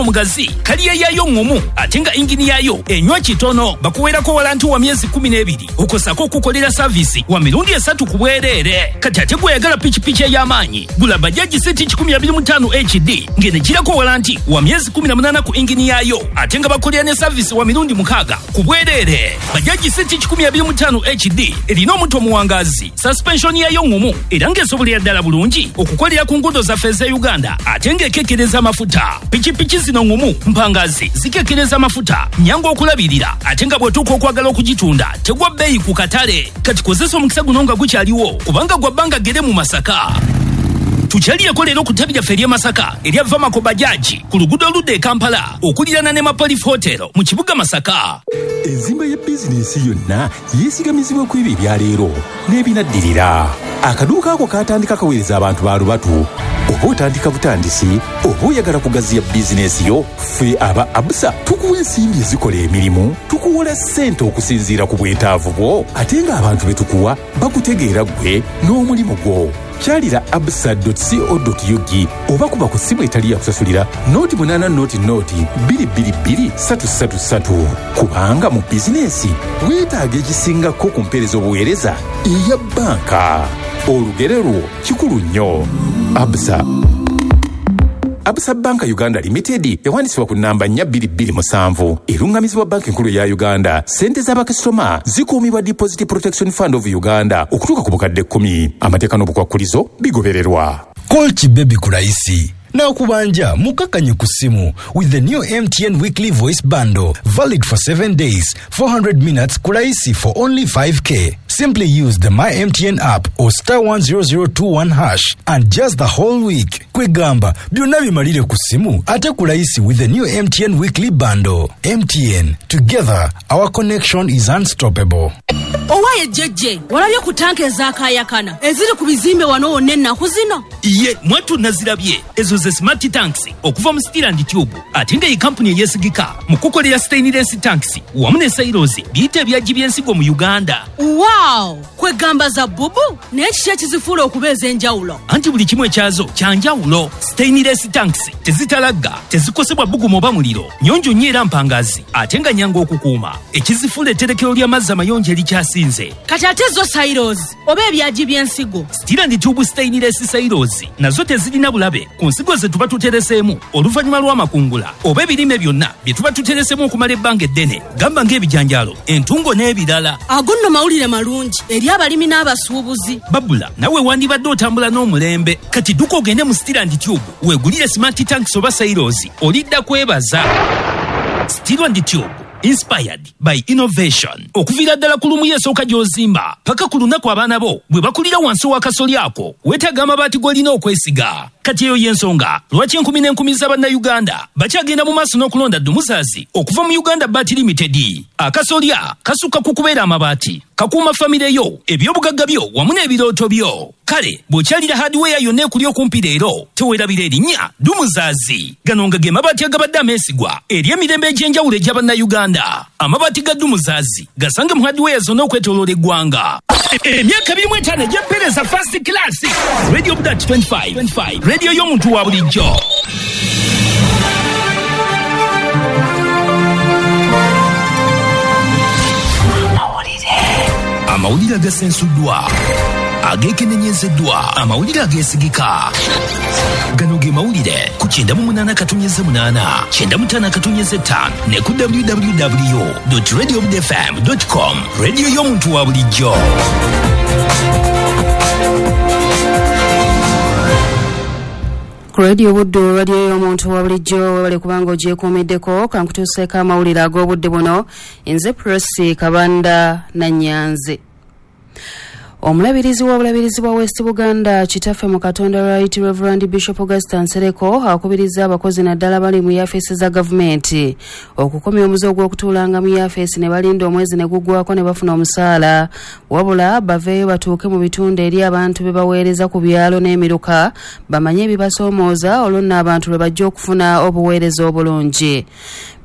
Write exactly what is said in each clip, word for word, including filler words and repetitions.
Omugazi kaliya yaayo ŋŋumu ate nga ingini yaayo enywa kitono. Bakuweerako walanti wa myezi kkumi n'ebiri okosako okukolera saavisi wa mirundi esatu ku bwereere. Kati ate gweyagala pikipiki ey'amaanyi, gula Bajaji C T kikumi abiri mu ttaano H D ng'enegirako walanti wa myezi kkumi na munaana ku ingini yaayo ate nga bakolera ne saavisi wa mirundi mukaaga ku bwereere. Bajaji C T kikumi abiri mu ttaano H D erina omuto omuwangaazi, suspension yaayo ŋŋumu era ng'esobolera ddala bulungi okukolera ku nguudo zaffe ez'e Uganda ate ng'ekekkereza amafuta. Pikipiki zino ŋŋumu, mpangazi, zikekkereza amafuta, nnyangu okulabirira ate nga bw'otuuka okwagala okugitunda tegwa bbeeyi ku katale. Kati kozesa omukisa guno nga gukyaliwo kubanga gwa bbanga ggere mu Masaka. Tukyalireko leero ku ttabi lyaffe ery'e Masaka erya Vamako Bajaji ku luguudo oludda e Kampala okuliraana ne Mapolif Hotel mu kibuga Masaka. Enzimba ya bizinensi yonna yeesigamizibwa ku ebyo ebya leero n'ebinaddirira. Akaduuka ako kaatandika kaweereza abantu ba lubatu. Oba otandika butandisi oba oyagala kugaziya bizinensi yo, ffe aba Absa tukuwa ensimbi ezikola emirimu, tukuwola ssente okusinziira ku bwetaavu bwo, ate ng'abantu be tukuwa bakutegeera ggwe n'omulimu gwo. Kyalira absa dot co dot ug oba kuba ku ssimu etali ya kusasulira noti munaana noti noti bbiri bbiri bbiri ssatu ssatu ssatu. Kubanga mu bizinensi weetaaga ekisingako ku mpeereza obuweereza eya bbanka. Olugero lwo kikulu nnyo. Absa. Absa Bank Uganda Limited ewandiisibwa ku nnamba nnya bbiri bbiri musanvu, eruŋŋamizibwa Banka Enkulu eya Uganda. Ssente z'abakasitoma zikuumibwa Deposit Protection Fund of Uganda okutuuka ku bukadde kkumi. Amateeka n'obukwakkulizo bigobererwa. Call Kibebi ku layisi n'akubanja mukakanye ku ssimu with the new M T N Weekly Voice Bundle, valid for seven days, four hundred minutes ku layisi for only five K. Simply use the My M T N app or star one zero zero two one hash and just the whole week. Kwegamba byonna bimalire ku ssimu ate ku layisi with the new M T N Weekly Bundle. M T N, together our connection is unstoppable. Owaye jjejje, walabye ku tanka ezakaayakana eziri ku bizimbe wano wonna ennaku zino? Iye, mwattu nazirabye. Ezo ze smart tanks okuva mu Steel and Tube ate nga ye kampuni eyeesigika mu kukolera stainless tanks wamu ne silos biyite ebyagi by'ensigo mu Uganda. Wow! Kwegamba za bubu naye kiki ekizifuula okuba ez'enjawulo? Anti buli kimu ekyazo kya njawulo. Stainless tanks tezitalagga, tezikosebwa bbugumu oba muliro, nnyonjo nnyo era mpangazi ate nga nnyangu okukuuma. Ekizifuula etterekero ly'amazzi amayonjo erikyasinze. Kati ate zo silos oba ebyagi by'ensigo? Steel and Tube stainless silos nazo tezirina bulabe ku nsigo ze tuba tutereseemu oluvannyuma lw'amakungula oba ebirime byonna bye tuba tutereseemu okumala ebbanga eddene, gamba ng'ebijanjaalo, entungo n'ebirala. Ago nno mawulire malungi eri abalimi n'abasuubuzi. Babula, nawe wandibadde otambula n'omulembe. Kati dduka ogende mu Steel and Tube weegulire smart tanks oba silos, olidda kwebaza. Steel and Tube, inspired by innovation. Okuviira ddala ku lumu esooka gy'ozimba paka ku lunaku abaana bo bwe bakulira wansi w'akasoli ako, weetaaga amabaati g'olina okwesiga. Kati eyo y'ensonga lwaki enkumi n'enkumi z'Abannayuganda bakyagenda mu maaso n'okulonda Dumuzazi okuva mu Uganda Baati Limited. Akasolya kasukka ku kubeera amabaati, kakuuma famire yo, ebyobugagga byo wamu n'ebirooto byo. Kale bw'okyalira hardware yonna ekuli okumpi leero, teweerabira erinnya Dumuzazi. Gano nga ge mabaati agabadde ameesigwa eri emirembe egy'enjawulo egy'Abannayuganda. Amabaati ga Dumuzazi gasange mu hardware zonna okwetooloola eggwanga. Emyaka abiri mu etaano egy'empeereza first class. Radio Budat twenty-five, twenty-five, radio y'omuntu wa bulijjo. Amawulire agasensuddwa, ageekenenyezeddwa, amawulire ageesigika. Gano ge mawulire ku kyenda mu munaana katonnyeze munaana, kyenda mu ttaano katonnyeze ttaano ne ku w w w dot radio f m dot com. Radio y'omuntu wa bulijjo. Ku Radio Buddu, radio y'omuntu wa bulijjo, webale kubanga ogyekuumiddeko. Kankutuuseeko amawulire ag'obudde buno. Nze Prossy Kabanda Nannyanzi. Omulabirizi w'obulabirizi bwa West Buganda Kitaffe mu Katonda Right Reverend Bishop Augustine Nsereko akubiriza abakozi naddala bali mu yafeesi za gavumenti okukomya omuze ogw'okutuulanga mu yafeesi ne balinda omwezi ne guggwako ne bafuna omusaala, wabula baveeyo batuuke mu bitundu eri abantu be baweereza ku byalo n'emiruka bamanye ebibasoomooza, olwo nno abantu lwe bajja okufuna obuweereza obulungi.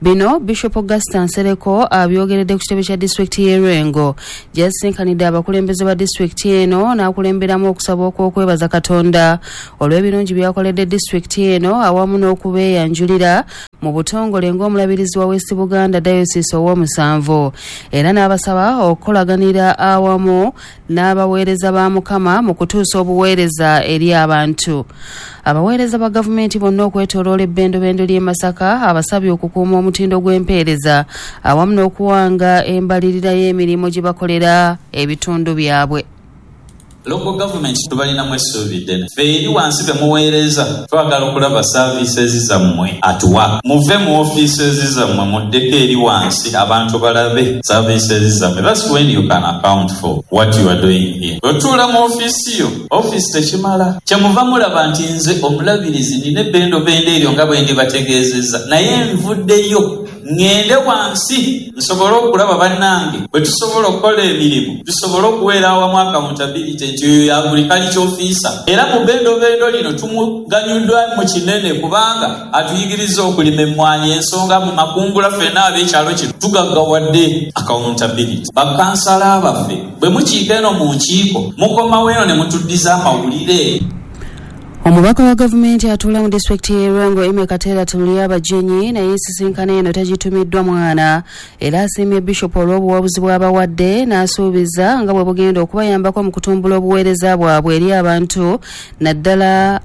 Bino Bishop Augustine Nsereko abyogeredde ku kitebe kya disitulikiti y'e Lwengo gy'asinkanidde abakulembeze ba disitulikiti eno n'akulemberamu okusaba okw'okwebaza Katonda olw'ebirungi by'akoledde disitulikiti eno awamu n'okubeeyanjulira Mu butongole ng'omulabirizi wa West Buganda Diocese ow'omusanvu, era n'abasaba okukolaganira awamu n'abaweereza ba Mukama mu kutuusa obuweereza eri abantu. Abaweereza ba gavumenti bonna okwetooloola ebbendobendo ly'e Masaka abasabye okukuuma omutindo gw'empeereza awamu n'okuwanga embalirira y'emirimu gye bakolera ebitundu byabwe. Local government tubalinamu essuubi ddene. Ffe eri wansi be muweereza twagala okulaba services zammwe at work. Muve mu offices zammwe muddeko eri wansi abantu balabe services zammwe. That's when you can account for what you are doing here. Otuula mu ofiisi yo, ofiisi tekimala. Kyemuva mulaba nti nze omulabirizi nina ebbendobendo eryo nga bwe ndibategeezezza, naye nvuddeyo ŋŋende wansi nsobole okulaba bannange bwe tusobola okukola emirimu, tusobole okuweera awamu accountability nti oyo ya agriculture officer. Era mu bbendobendo lino tumuganyuddwa mu kinene kubanga atuyigiriza okulima emmwanyi, ensonga mu makungula ffenna ab'ekyalo kino tugaggawadde accountability. Bakansala baffe bwe mukiika eno mu nkiiko mukomawo eno ne mutuddiza amawulire. Omubaka wa gavumenti atuula mu disitulikiti y'e Lwengo Emmy Kateera Tulyabagenyi naye ensisinkano eno tagitumiddwa mwana, era asiimye Bishop olw'obuwabuzi bw'abawadde n'asuubiza nga bwe bugenda okubayambako mu kutumbula obuweereza bwabwe eri abantu, naddala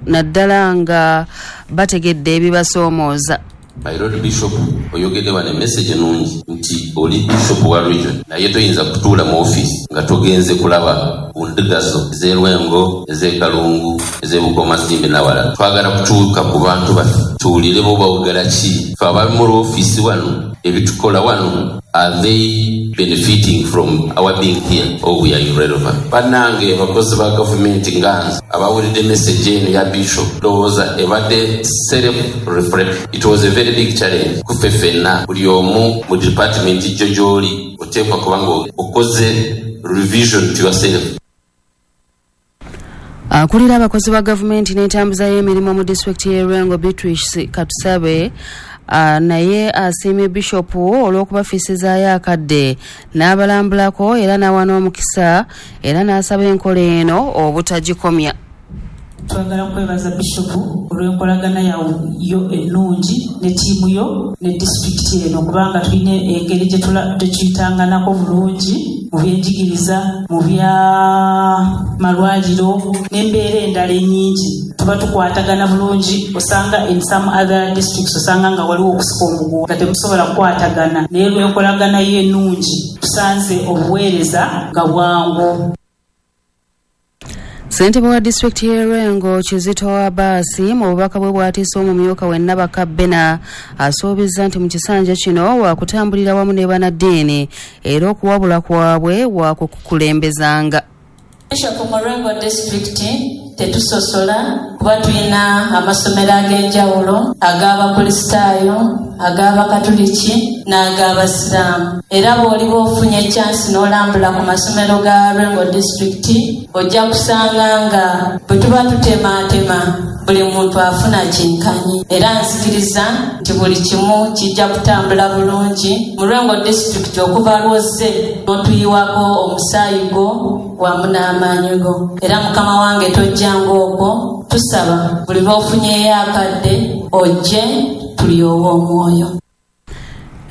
naddala nga bategedde ebibasoomooza. My Lord Bishop, oyogedde wano emessage ennungi nti oli bishop wa region, naye toyinza kutuula mu office nga togenze kulaba ku ndiga zo ez'e Lwengo, ez'e Kalungu, ez'e Bukomasimbi n'awalala. Twagala kutuuka ku bantu baffe tuwulire bo bawogala ki. Ffe abali mu ofiisi wano ebitukola wano, are they benefiting from our being here or we are irrelevant? Bannange abakozi ba gavumenti nga nze abawulidde message eno ya bishop, ndowooza ebadde self reflection. It was a very big challenge kuffe ffenna, buli omu mu department gyo gy'oli oteekwa kuba nga okoze revision to yourself. Akulira abakozi ba gavumenti n'entambuza y'emirimu mu disitulikiti y'e Lwengo Beatrice Katusabe Uh, naye asiimye Bishop olw'okubafisizaayo akadde n'abalambulako era n'awa n'omukisa, era n'asaba enkola eno obutagikomya. Twagala kwebaza Bishop olw'enkolagana yo ennungi ne ttiimu yo ne disitulikiti eno, kubanga tulina engeri gye tuyitanganako bulungi mu byenjigiriza, mu byamalwaliro n'embeera endala ennyingi. Tuba tukwatagana bulungi, osanga in some other districts osanga nga waliwo okusika omuguwa nga temusobola kukwatagana, naye lw'enkolagana yo ennungi tusanze obuweereza nga bwangu. Ssentebe wa disitulikiti y'e Lwengo Kizito Abaasi mu bubaka bwe bw'atiisa omumyuka we Nabaka Bena asuubizza nti mu kisanja kino waakutambulira wamu ne bannaddiini era okuwabula kwabwe waakukukulembezanga. Bishop mu Lwengo disitulikiti tetusosola kuba tulina amasomero ag'enjawulo ag'Abakristaayo, ag'Abakatuliki n'ag'Abasiraamu. Era bw'oliba ofunye ekyansi n'olambula ku masomero ga Lwengo disitulikiti ojja kusanga nga bwe tuba tutemaatema buli muntu afuna kyenkanyi, era nzikiriza nti buli kimu kijja kutambula bulungi mu Lwengo disitulikiti okuva lwozze n'otuyiwako omusaayi gwo wamu n'amaanyi go. Era mukama wange tojjanga okwo, tusaba buli lw'ofunyeyo akadde ojje tulyowe omwoyo.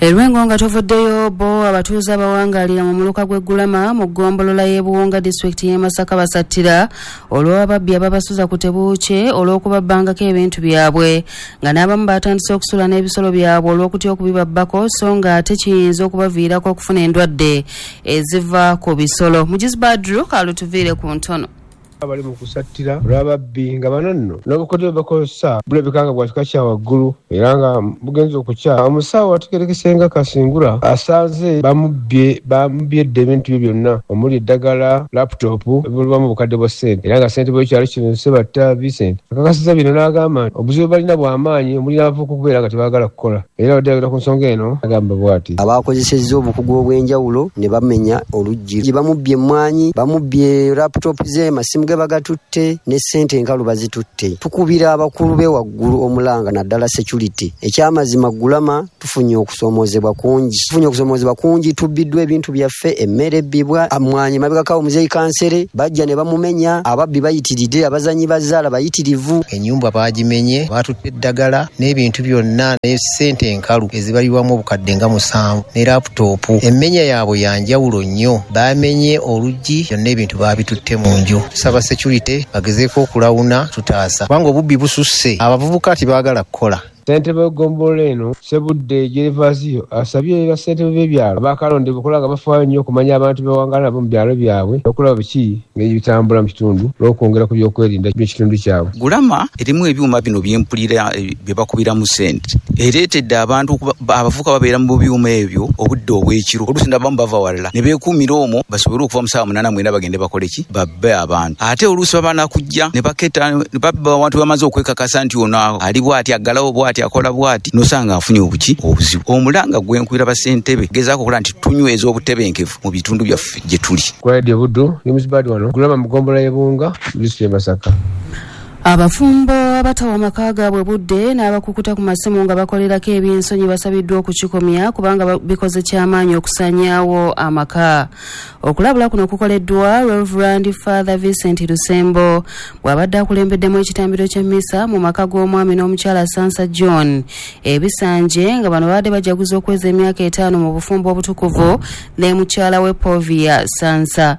Erwengo nga tuvuddeyo, bo abatuuze abawangaalira mu muluka gw'e Ggulama mu ggombolola y'e Buwunga disitulikiti y'e Masaka basattira olw'ababbi ababasuza ku tebuukye olw'okubabbangako ebintu byabwe, nga n'abamu batandise okusula n'ebisolo byabwe olw'okutya okubibabbako, so nga ate kiyinza okubaviirako okufuna endwadde eziva ku bisolo. Mugizi Badru kalutuviire ku ntono. Abali mu kusattira olw'ababbi nga bano nno n'obukodyo bwe bakozesa bulabika nga bwa kika kya waggulu era nga bugenza okukya. Omusawo ategeerekese Kasingura asanze bamubbye bamubbye edda ebintu bye byonna omuli eddagala, laputopu ebulwamu obukadde bwa ssente, era nga ssentebe w'ekyalo kino Ssebatta Vincent akakasizza bino n'agamba nti obuzibu balina bw'amaanyi omuli n'abavubuka okubeera nga tebaagala kukola. Era abadde ayogera ku nsonga eno agamba bw'ati: abakozesezza obukugu obw'enjawulo ne bamenya oluggi, bamubbye emmwanyi, bamubbye laputopu ze, amasimu Amasimu ge bagatutte ne ssente enkalu bazitutte. Tukubira abakulu be waggulu omulanga naddala security. Ekyamazima Gulama tufunye okusoomoozebwa kungi, tufunye okusoomoozebwa kungi, tubbiddwa ebintu byaffe, emmere ebbibwa, amwanyi mabegakawo muzeeyi kansere bajja ne bamumenya, ababbi bayitiridde, abazanyi bazaala bayitirivu. Ennyumba baagimenye, baatutte eddagala n'ebintu byonna ne ssente enkalu ezibalibwamu obukadde nga musanvu ne laputopu. Emmenya yaabwe ya njawulo nnyo, baamenye oluggi, byonna ebintu baabitutte mu nju. Tusaba security bagezeeko okulawuna tutaasa, kubanga obubbi bususse, abavubuka tebaagala kukola. Ssentebe w'eggombolola eno Sebudde Gervasio asabye bassentebe b'ebyalo abakalondebwa okulaba nga bafaayo nnyo okumanya abantu bebawangaala nabo mu byalo byabwe okulaba biki ngeri bitambula mu kitundu n'okwongera ku byokwerinda by'ekitundu kyabwe. Gulama erimu ebyuma bino byempulira bye bakubiramu ssente, ereetedde abantu abavubuka babeera mu byuma ebyo obudde obw'ekiro, oluusi n'abamu bava walala ne beekuumira omwo basobole okuva mu ssaawa munaana mwenda bagende bakole ki, babbe abantu. Ate oluusi baba nakujja ne baketa ne babba abantu bamaze okwekakasa nti ono ali bw'ati aggalawo bw'ati akola bw'ati, nosanga afunye obuki obuzibu. Omulanga gwe nkubira bassentebe gezaako okulaba nti tunyweza obutebenkevu mu bitundu byaffe gye tuli. Ku Radio Buddu ne Muzibadi wano Gulama mu ggombolola y'e Bunga, disitulikiti y'e Masaka. Abafumbo abatawa amaka gaabwe budde n'abakukuta ku masimu nga bakolerako ebyensonyi basabiddwa okukikomya kubanga bikoze kyamaanyi okusaanyaawo amaka. Okulabula kuno kukoleddwa Reverend Father Vincent Lusembo bw'abadde akulembeddemu ekitambiro ky'emmisa mu maka g'omwami n'omukyala Sansa John ebisanje, nga bano babadde bajaguza okweza emyaka etaano mu bufumbo obutukuvu ne mukyala we Povia Sansa.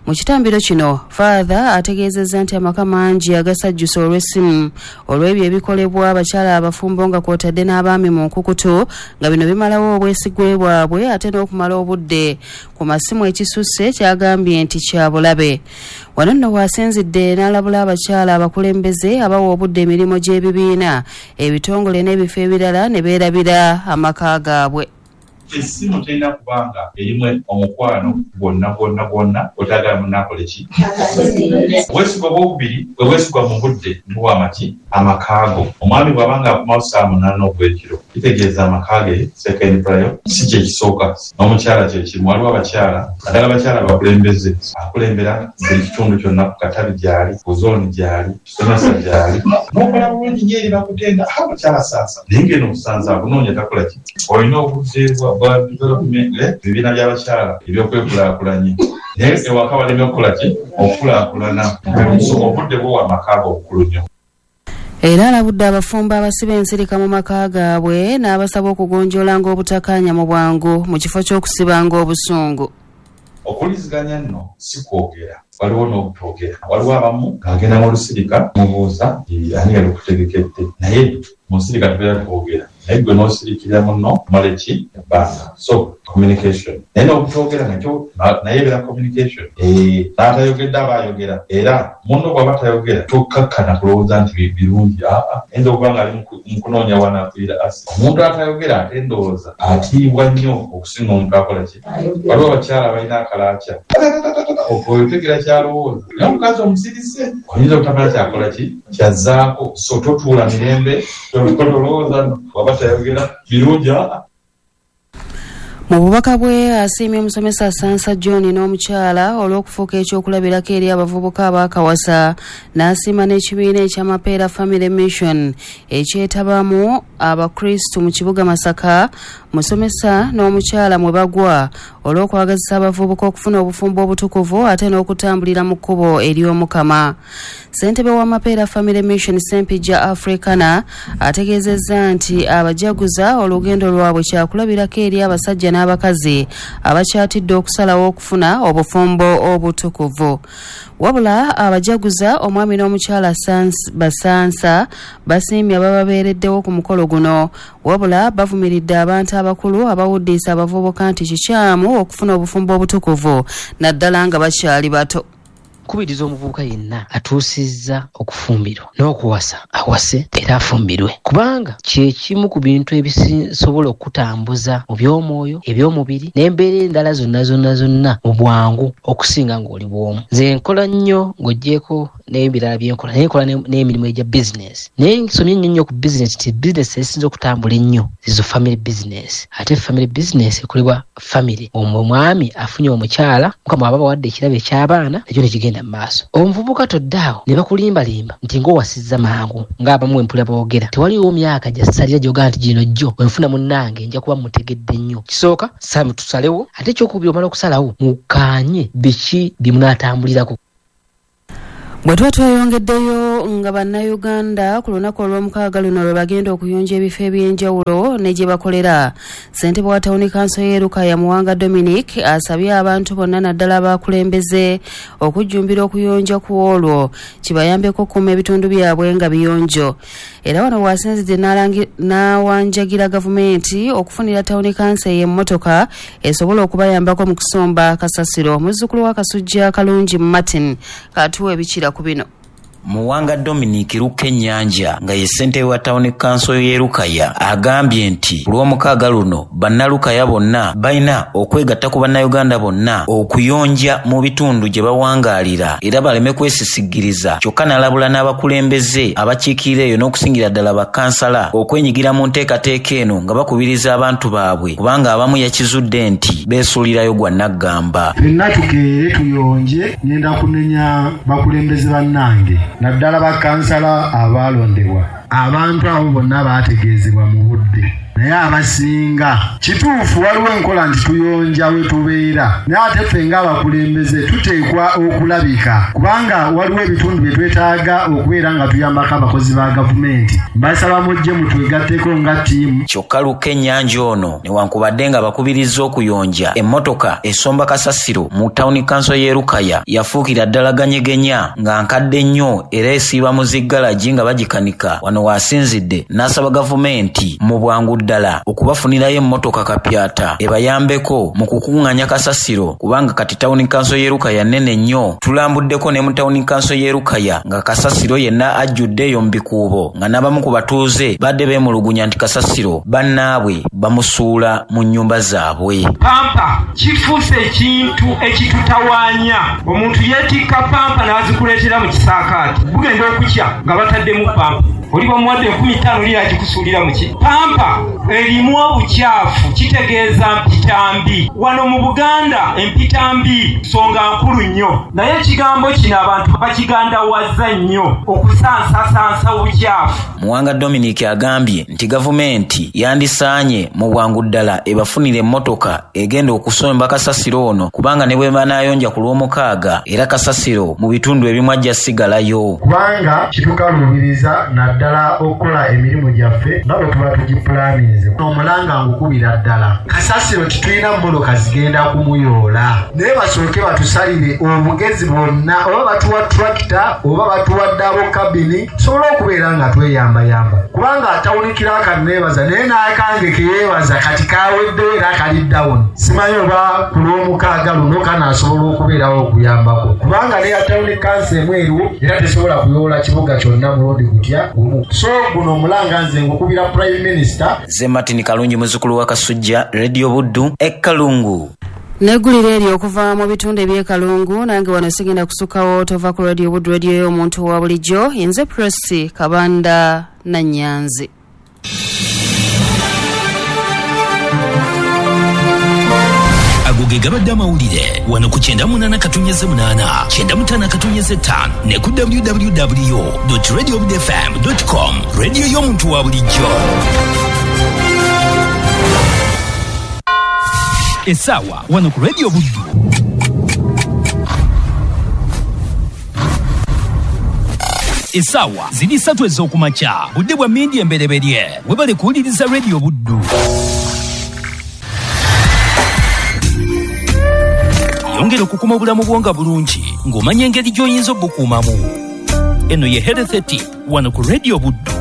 Mu kitambiro kino Father ategeezezza nti amaka mangi agasajjusa olw'essimu olw'ebyo ebikolebwa abakyala abafumbo nga kw'otadde n'abaami mu nkukutu, nga bino bimalawo obwesigwe bwabwe ate n'okumala obudde ku masimu ekisusse kyagambye nti kya bulabe. Wano nno waasinzidde n'alabula abakyala abakulembeze abawa obudde emirimu gy'ebibiina, ebitongole n'ebifo ebirala ne beerabira amaka gaabwe. Essimu terina kubanga erimu omukwano gwonna gwonna gwonna otagala munaakole ki. Obwesigwa bwokubiri bwe bwesigwa mu budde buwa amaki amakaago. Omwami bw'abanga akomawo ssaawa munaana ogw'ekiro kitegeeza amaka ge second prior si kye kisooka, n'omukyala kye kimu. Waliwo abakyala naddala abakyala abakulembeze, akulembera buli kitundu kyonna, ku katabi gy'ali, ku zooni gy'ali, kisomesa gy'ali, n'okola bulungi nnyo eri bakutenda ha mukyala Sansa, naye ng'eno omusanza akunoonya takola ki. Olina obudde bwa development ebibiina by'abakyala ebyokwekulaakulanya, naye ewaka baleme okukola ki, okukulaakulana. Obudde bwowa amaka ago obukulu nnyo. Era alabudde abafumbo abasiba ensirika mu maka gaabwe n'abasaba okugonjoolanga obutakkaanya mu bwangu mu kifo ky'okusibanga obusungu. Okuwuliziganya nno si kwogera, waliwo n'obutoogera. Waliwo abamu ng'agenda mu lusirika mubuuza ani yali okutegekedde, naye mu nsirika tubeera twogera, naye gwe n'osirikira munno omala ki ebbanga. So communication, naye n'obutoogera nakyo naye ebeera communication. N'atayogedde aba ayogera, era munno bw'aba tayogera tokkakkana kulowooza nti birungi. Aa ayinza okuba nga ali mu kunoonya wanaakuyira asi. Omuntu atayogera ate ndowooza atiibwa nnyo okusinga omuntu akola ki. Waliwo abakyala balina akalaaca otegera kyalowooza, naye omukazi omusirise oyinza obutamala kyakola ki kyazzaako. So totuula mirembe, tolowooza waba tayogera birungi. Mu bubaka bwe asiimye omusomesa Sansa John n'omukyala olw'okufuuka ekyokulabirako eri abavubuka abaakawasa, n'asiima n'ekibiina eky'Amapeera Family Mission ekyetabamu Abakristu mu kibuga Masaka, musomesa n'omukyala mwe bagwa olw'okwagazisa abavubuka okufuna obufumbo obutukuvu ate n'okutambulira mu kkubo ery'Omukama. Ssentebe w'Amapeera Family Mission Ssempijja Africana ategeezezza nti abajaguza olugendo lwabwe kyakulabirako eri abasajja n'abakazi abakyatidde okusalawo okufuna obufumbo obutukuvu. Wabula abajaguza omwami n'omukyala Basansa basiimye abababeereddewo ku mukolo guno, wabula bavumiridde abantu abakulu abawuddiisa abavubuka nti kikyamu okufuna obufumbo obutukuvu naddala nga bakyali bato. Kubiriza omuvubuka yenna atuusizza okufumbirwa n'okuwasa awase era afumbirwe, kubanga kye kimu ku bintu ebisobola okutambuza mu by'omwoyo, eby'omubiri n'embeera endala zonna zonna zonna mu bwangu okusinga ng'oli bw'omu. Nze nkola nnyo ng'oggyeko n'ebirala bye nkola, naye nkola n'emirimu egya bizinesi, naye nsomye nnyo nnyo ku bizinesi nti bizinesi ezisinza okutambula ennyo zizo family business, ate family business ekolebwa family. Omwami afunye omukyala, Mukama aba abawadde ekirabo eky'abaana, ekyo ne kigenda. Genda mu maaso. Omuvubuka toddaawo ne bakulimbalimba nti ng'owasizza mangu ng'abamu empula boogera. Tewaliwo myaka gya ssalira gy'ogaa nti gino jjo wenfuna munnange nja kuba mutegedde nnyo. Kisooka tusalewo, ate ekyokubiri omala okusalawo mukkaanye biki bye munaatambulirako. Bwe tuba tweyongeddeyo nga bannayuganda ku lunaku olw'omukaaga luno lwe bagenda okuyonja ebifo eby'enjawulo ne gye bakolera, ssentebe wa tawuni kanso y'e Lukaya Muwanga Dominic asabye abantu bonna naddala abakulembeze okujjumbira okuyonja ku olwo kibayambeko okukuuma ebitundu byabwe nga biyonjo. Era wano w'asinzidde n'awanjagira gavumenti okufunira tawuni kanso ey'emmotoka esobola okubayambako mu kusomba kasasiro. Muzzukulu wa Kasujja Kalungi Martin katuwa ebikira ku bino. Muwanga Dominic Lukennyanja nga ye ssentebe wa tawuni kanso y'e Lukaya agambye nti lw'omukaaga luno bannalukaya bonna balina okwegatta ku bannayuganda bonna okuyonja mu bitundu gye bawangaalira era baleme kwesisigiriza, kyokka n'alabula n'abakulembeze abakiikirira eyo n'okusingira ddala bakansala okwenyigira mu nteekateeka eno nga bakubiriza abantu baabwe, kubanga abamu yakizudde nti beesuulirayo gwa nnaggamba. Ffenna tukeere tuyonje, ngenda kunenya bakulembeze bannange naddala bakansala abaalondebwa. Abantu abo bonna baategeezebwa mu budde, naye abasinga kituufu waliwo enkola nti tuyonja we tubeera, naye ate ffe ng'abakulembeze tuteekwa okulabika, kubanga waliwo ebitundu bye twetaaga okubeera nga tuyambako abakozi ba gavumenti. Mbasaba mujje mutwegatteko nga ttiimu. Kyokka Lukennyanja ono newankubadde nga bakubirizza okuyonja, emmotoka esomba kasasiro mu tawuni kanso y'e Lukaya yafuukira ddala ganyegenya nga nkadde nnyo era esiiba mu ziggalagi nga bagikanika. Wano w'asinzidde n'asaba gavumenti mu bwangu ddala okubafunirayo emmotoka kapyata ebayambeko mu kukuŋŋaanya kasasiro, kubanga kati tawuni kanso y'e Lukaya nnene nnyo. Tulambuddeko ne mu tawuni kanso y'e Lukaya nga kasasiro yenna ajjudde eyo mu bikuubo, nga n'abamu ku batuuze badde beemulugunya nti kasasiro bannaabwe bamusuula mu nnyumba zaabwe. Pampa kifuuse ekintu ekitutawaanya. Omuntu yeetikka pampa n'azikuleetera mu kisaakaati, bugenda okukya nga bataddemu pampa, oli bamuwadde enkumi ttaano oli agikusuulira mu ki. Pampa erimu obukyafu, kitegeeza mpitambi. Wano mu Buganda empitambi nsonga nkulu nnyo, naye ekigambo kino abantu bakigandawaza nnyo okusansasansa obukyafu. Muwanga Dominic agambye nti gavumenti yandisaanye mu bwangu ddala ebafunire emmotoka egenda okusomba kasasiro ono, kubanga ne bwe banaayonja ku lw'omukaaga era kasasiro mu bitundu ebimu ajja sigalayo, kubanga kitukaluubiriza naddala okukola emirimu gyaffe nga bwe tuba tugipulaninze. Omulanga ngukubira ddala, kasasiro tetulina mmotoka zigenda kumuyoola, naye basooke batusalire obugezi bwonna, oba batuwa tractor oba batuwa double cabin, tusobole okubeera nga tweyambayamba, kubanga atawunikira akanneebaza naye n'akange keyeebaza kati kaweddewo era kali down. Simanyi oba ku lw'omukaaga luno kanaasobola okubeerawo okuyambako, kubanga neya tawuni kanso emu eriwo era tesobola kuyoola kibuga kyonna mulundi gutya gumu. So guno omulanga nze ngukubira Prime Minister. Ze Martin Kalungi muzzukulu wa Kasujja, Radio Buddu, e Kalungu. Neggulire eryo okuva mu bitundu eby'e Kalungu. Nange wano sigenda kusukkawo, tova ku Radio Buddu, radio y'omuntu wa bulijjo. Nze Prossy Kabanda Nannyanzi. Ago ge gabadde amawulire wano ku kyenda munaana katunyeze munaana, kyenda mutaano katunyeze ttaano ne ku w w w dot radio buddu f m dot com, radio y'omuntu wa bulijjo. Essaawa wano ku Radio Buddu essaawa ziri ssatu ez'okumakya, budde bwa mmindi embereberye. Webale kuwuliriza Radio Buddu. Yongera okukuma obulamu bwo nga bulungi ng'omanya engeri gy'oyinza obukuumamu. Eno ye Health Tip wano ku Radio Buddu.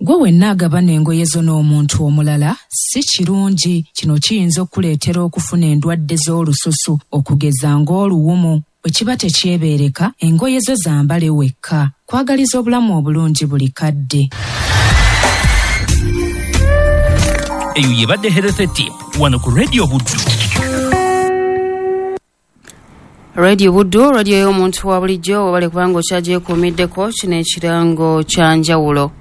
Gwe wenna agabana engoye zo n'omuntu omulala si kirungi. Kino kiyinza okukuleetera okufuna endwadde z'olususu okugeza ng'oluwumu. Bwe kiba tekyebeereka, engoye zo zambale wekka. Kwagaliza obulamu obulungi buli kadde. Eyo yebadde Health Tip wano ku Radio Buddu. Radio Buddu, radio y'omuntu wa bulijjo. Webale kubanga okyagyekuumiddeko. Kino ekirango kya njawulo.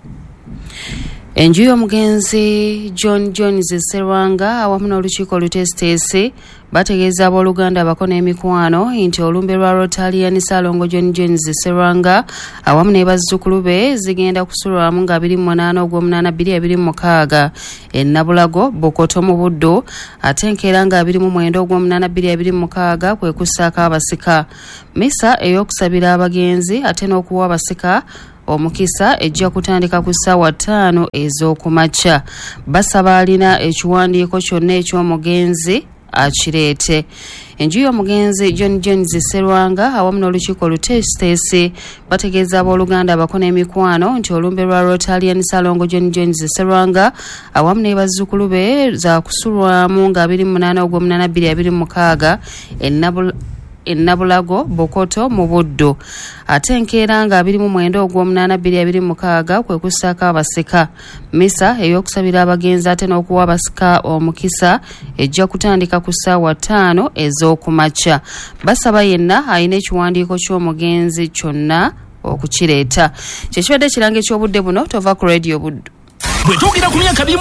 Enju y'omugenzi John Jones Serwanga awamu n'olukiiko oluteesiteesi bategeeza abooluganda, abako n'emikwano nti olumbe lwa Rotarian Ssalongo John Jones Serwanga awamu ne bazzukulu be zigenda kusulwamu nga abiri mu munaana ogw'omunaana bbiri abiri mu mukaaga e Nabulago, Bukoto mu Buddu, ate enkeera nga abiri mu mwenda ogw'omunaana bbiri abiri mu mukaaga kwe kussaako abasika. Misa ey'okusabira abagenzi ate n'okuwa abasika omukisa ejja kutandika ku ssaawa ttaano ez'okumakya. Basaba alina ekiwandiiko kyonna eky'omugenzi akireete. Enju y'omugenzi John Jones Serwanga awamu n'olukiiko oluteesiteesi bategeeza abooluganda, abako n'emikwano nti olumbe lwa Rotarian Ssalongo John Jones Serwanga awamu ne bazzukulu be zakusulwamu nga abiri mu munaana ogw'omunaana bbiri abiri mu mukaaga e Nabul- e Nabulago, Bukoto mu Buddu, ate enkeera nga abiri mu mwenda ogw'omunaana bbiri abiri mu mukaaga kwe kussaako abasika. Misa ey'okusabira abagenzi ate n'okuwa abasika omukisa ejja kutandika ku ssaawa ttaano ez'okumakya. Basaba yenna alina ekiwandiiko ky'omugenzi kyonna okukireeta. Kyekibadde ekirango eky'obudde buno. Tova ku Radio Buddu. Bwe twogera ku myaka abiri